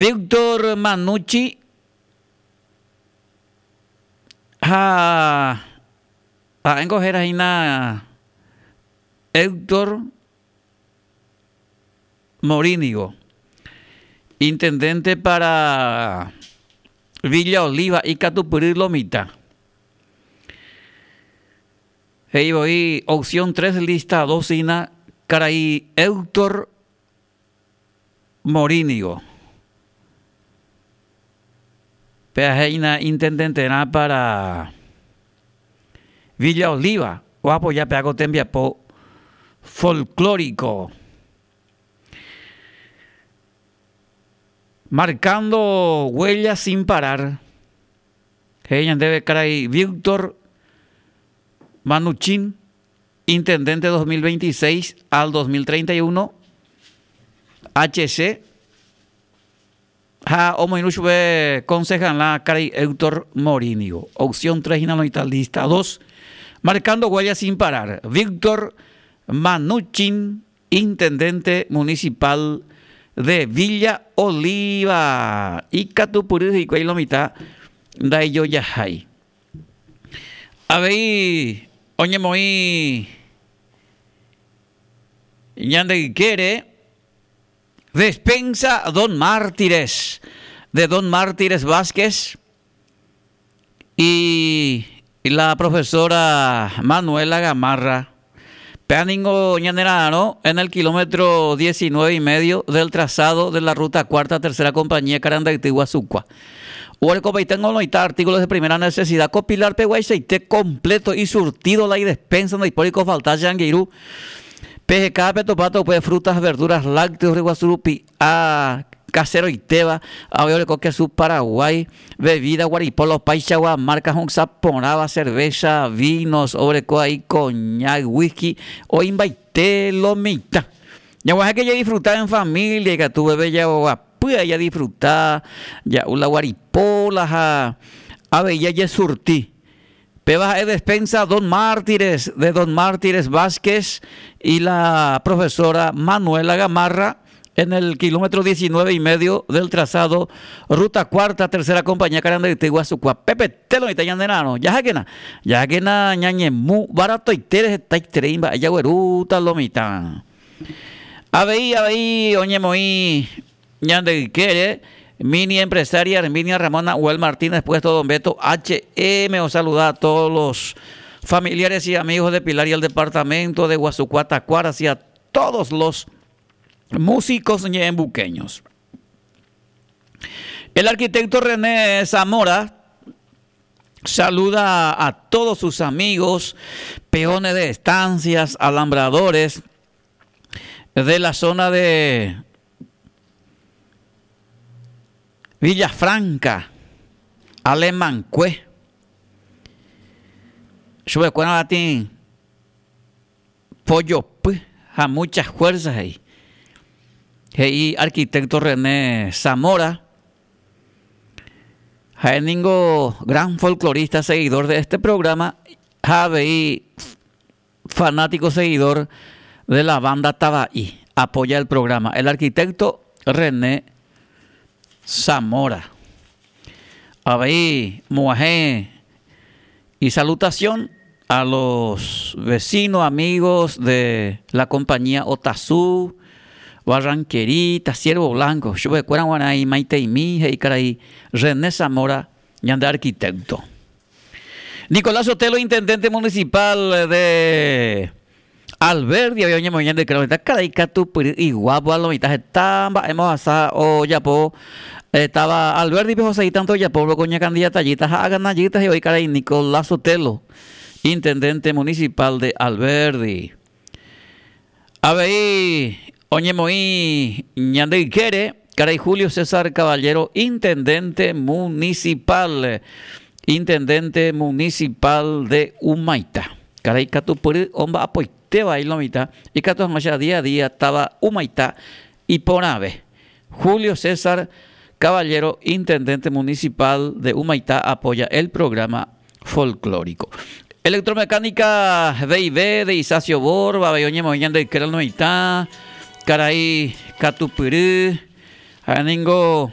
Víctor Manucci ha ha'éngo héra hína Héctor Morínigo, intendente para Villa Oliva ikatupyry lo mitã. He'i voi opción 3 lista 2 hína karai Héctor Morínigo. Péa he'ína intendenterã para Villa Oliva oapoja péa ko tembiapo folklórico. Marcando huella sin parar, he'i ñandéve karai Víctor Manuchín. Intendente 2026 al 2031, HC, ha omoirũ chupe concejala karai Héctor Morínigo. Opción 3 hína noĩta lista 2. Marcando huella sin parar, Víctor Manuchin, intendente municipal de Villa Oliva. Ikatupyry hikuái lo mitã ndaijojahái. Avei oñemoĩ ñande ykére Despensa Don Mártires, de Don Mártires Vázquez y la profesora Manuela Gamarra. Péa ningo ñanera'arõ en el kilómetro 19 y medio del trazado de la ruta cuarta tercera compañía Carandayty Guasukua. Oguerekopaite ngoloita artículos de primera necesidad ko pilar peguaichaite completo y surtido la idespensa ndaipóri ko falta che angirũ. Peheka petopáta upe frutas, verduras, lácteos ryguasu rupi'a kaseroitéva, avei oreko kesu Paraguái, bebida guaripolo opaichagua marca ho'ysã porãva, cerveza, vinos, oreko aí coñac, whisky, oĩmbaite lo mitã. Ñaguahẽke jadisfruta en familia ikatu veve jaguapy jadisfruta, ja'u la guaripola ha avei jajesurti. Péva ha'e despensa Don Mártires, de Don Mártires Vázquez y la profesora Manuela Gamarra en el kilómetro 19 y medio del trazado Ruta Cuarta, Tercera Compañía Carandayty Guasukua. Pepe telo oĩta ñande ra'arõ. Jahákena, jahákena ñañemu baratoitére hetaiterei mba'e jaguerúta lo mitã. Avei, avei oñemoĩ ñande ykére mini empresaria Herminia Ramona Uel Martínez puesto Don Beto HM osaluda a todos los familiares y amigos de Pilar y el departamento de Guasucua Tacuara y a todos los músicos ñe'ẽmbuqueños. El arquitecto René Zamora saluda a todos sus amigos, peones de estancias, alambradores de la zona de Villafranca, Alemancue. Chupekuéra latĩ pojopy ha muchas fuerzas he'i. He'i arquitecto René Zamora. Ha'e ningo gran folclorista seguidor de este programa ha avei fanático seguidor de la banda Tava'i. Apoya el programa. El arquitecto René Zamora. Avei moguahẽ y salutación a los vecinos, amigos de la compañía Otazú, Barranquerita, Ciervo Blanco, chupekuéra g̃uarã imaiteimi he'i karai René Zamora ñande arquitecto. Nicolás Sotelo, intendente municipal de Alberdi, avei oñemoĩ ñande ykére oĩta karai katupyry iguápo a lo mitã heta mba'e mohasa ojapo táva Alberdi-pe hosegi tanto ojapo ko ñakandidatajýta ha aganajýta he'i oĩ karai Nicolás Sotelo, intendente municipal de Alberdi. Avei oñemoĩ ñande ykére karai Julio César Caballero, intendente municipal, intendente municipal de Humaitá. Karai katupyry omba'apoitéva lo mitã ikatu hag̃uáicha día a día táva Humaitá iporãve. Julio César Caballero, intendente municipal de Humaitá apoya el programa folclórico. Electromecánica B&B de Isacio Borba, avei oñemoĩ ñande ykére lo mitã, karai katupyry, ha'e ningo.